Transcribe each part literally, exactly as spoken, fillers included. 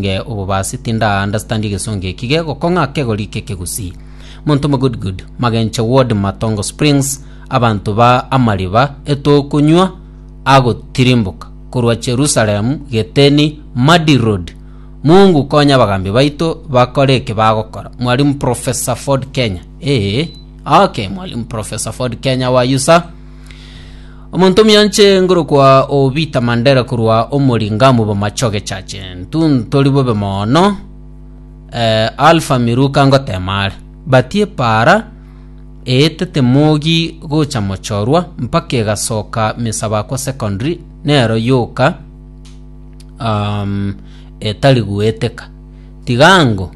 Nge obobasi tinda understand egesongo eki gegokong'a kegori kekegusii. Monto mo good good Magenche ward Matongo Springs abanto ba amariba etokonywa agotirimboka korwa Jerusalem Geteni Madi Road Mungu konya abagambi baito bakore eke bagokora Mwalimu Professor Ford Kenya ee okay Mwalimu Professor Ford Kenya how are you sir? Omonto omuya nkorokwa Obita Mandera korwa Omoringamu Bomachoge Church. Intwe ntori bobe mono eh, Alpha Miruka ngotema are. Batie para eetete mogi gocha mochorwa mpaka egasoka Misabakwa Secondary nero yoka um, etari goeteka. Tigango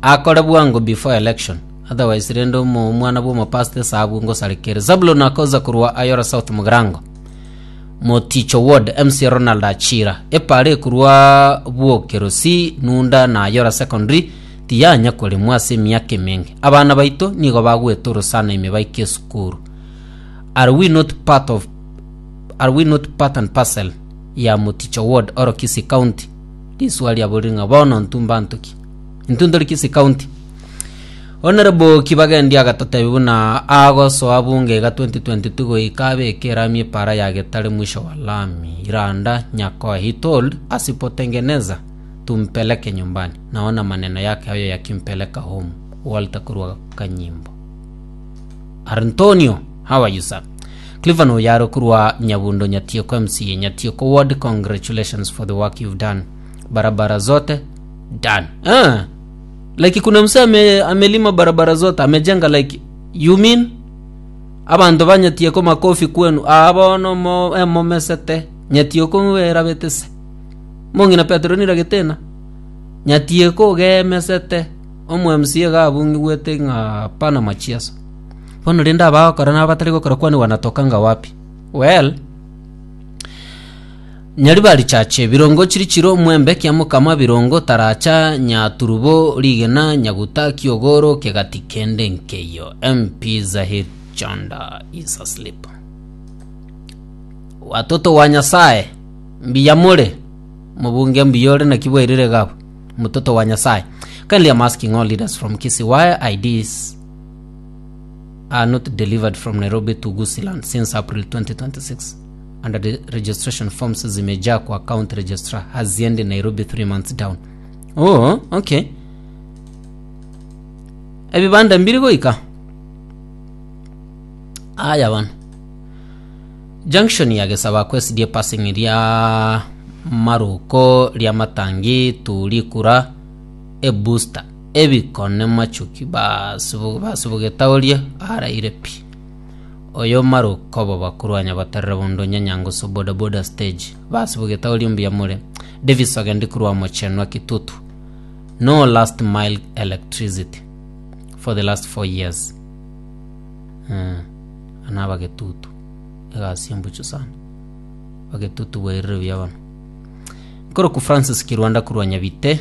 akore bwango before election otherwise rende omo- omwana bwa omopastor esabu ngosarekere. Zabulon akoza korwa Ayora South Mugirango Moticho Ward M C Ronald Achira epara ekorwa Bwokerosi Nunda na Ayora Secondary tiyanya koremwa ase emiaka emenge. Abana baito nigo bagweta orosana ime baike esukuru. Are we not part of are we not part and parcel ya Moticho Ward or Kisii County? Riswali aborire ng'a bono intwe mbanto ki? Intwe ntori Kisii County? Honorable Kibagendi agatotebi buna agosoa bunge iga twenty twenty-two goika abeke erami epara ya Getare mwisho wa lami Iranda Nyakoe. He told asipotengeneza tumpeleke nyumbani. Naona maneno yake hayo yakimpeleka home. Walter kurwa Kanyimbo. Antonio, how are you, sir? Clifford Oyaro kurwa Nyabundo Nyatieko M C A Nyatieko Ward, congratulations for the work you've done. Barabara zote done. Ah. Like kuna msee ame, amelima barabara zote, amejenga. Like you mean abanto ba Nyatieko, makofi kwenu. Abono mo emomesete Nyatieko werabetese mong'ina Petero niragetena Nyatieko gemesete omo M C A gabungigwete ng'a pana machiaso. Bono rende abagokora na abatari gokora kwani wanatokanga wapi? Well, Nyaribari Chache Birongo Chirichiro Mwembe Kiamokama Birongo Taracha Nyaturubo Rigena Nyaguta Kiogoro Kegati kende nkeyo. M P Zahir Chanda is asleep. Watoto wa Nyasaye, mbiyamure mubunge mbiyore naki bwairire gabo mtoto wa Nyasaye. Kindly, I'm asking all leaders from Kisii why I Ds are not delivered from Nairobi to Gusiland since April twenty twenty-six and the registration forms zimejaa kwa county registrar, haziendi Nairobi three months down. Oh, okay. Ebibanda mbiri goika aya bana junction ya Gesaba kwesidia passing ria maruko ria matangi turikura ebooster ebikone machuki basubugetaorie araire pi oyo maruko bo bakurwanya batarira bundo nyanyango boda boda stage basubugetaorie mbuya mure. Davis ogendi kurwa mochenwa Kitutu, no last mile electricity for the last four years. mm. Ana bagetutu egasi embucho sana bagetutu bwairire buya bono. Nkoroku Francis Kirwanda kurwa Nyabite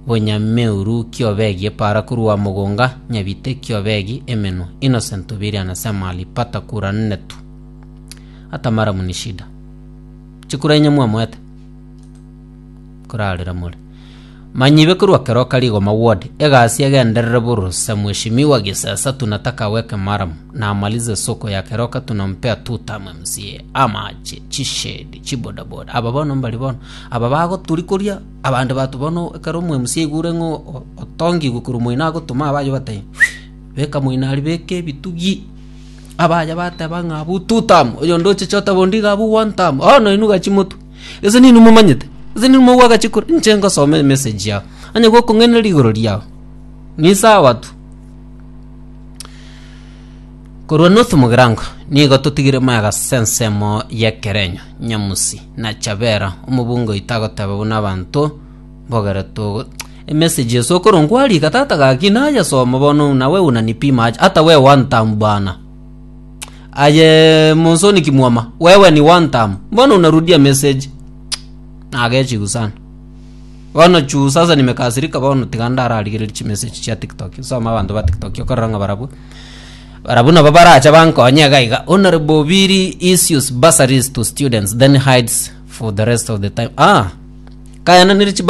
Bonyameuru Kiobegi epara kurwa Mugonga Nyabite Kiobegi Emenwa. Innocent Obiri anasema alipata kura nne tu, hata mara ni shida chikura inya mwamwete kurarira mure manyibe kurwa Keroka Rigoma ward egasi egenderere burusa. Mheshimiwa Gisesa tunataka aweke maram na amalize soko ya Keroka, tunampea two term M C A amache chishedi chibodaboda aba bono mbari bono aba bagoturi abande batu bono ekero omo M C A igure ng'o otongi gukuru moina agotuma abayo batai beka moina ari beke ebitugi abaya bateba ng'a abu two term oyo ndoche chota bondi gabu one term ono inuga chimotu ese ninu mumanyete ese ninu mugwaga chikura inche ngosome message yao anya gokong'eneria igoro riao ni sawa tu. Korwa North Mugirango nigo totigire maega sensemo yekerenyo Nyamusi na Chabera omobungo itagoteba buna abanto mbogere togo emessage esokoro ngwarika tata gaki nayasoma bono nawe unanipima aje hata we one term bwana aye Monsoni Kimwama, wewe ni one term, mbona unarudia message? Nagechigu sana bono chu sasa nimekasirika bono tiga ndararigereria chimessage chia TikTok soma abanto ba TikTok okorora ng'a barabwo barabwo nabo baracha bankonye iga iga. Honorable Obiri issues bursaries to students, then hides for the rest of the time. Ah, Kayananire chibasari.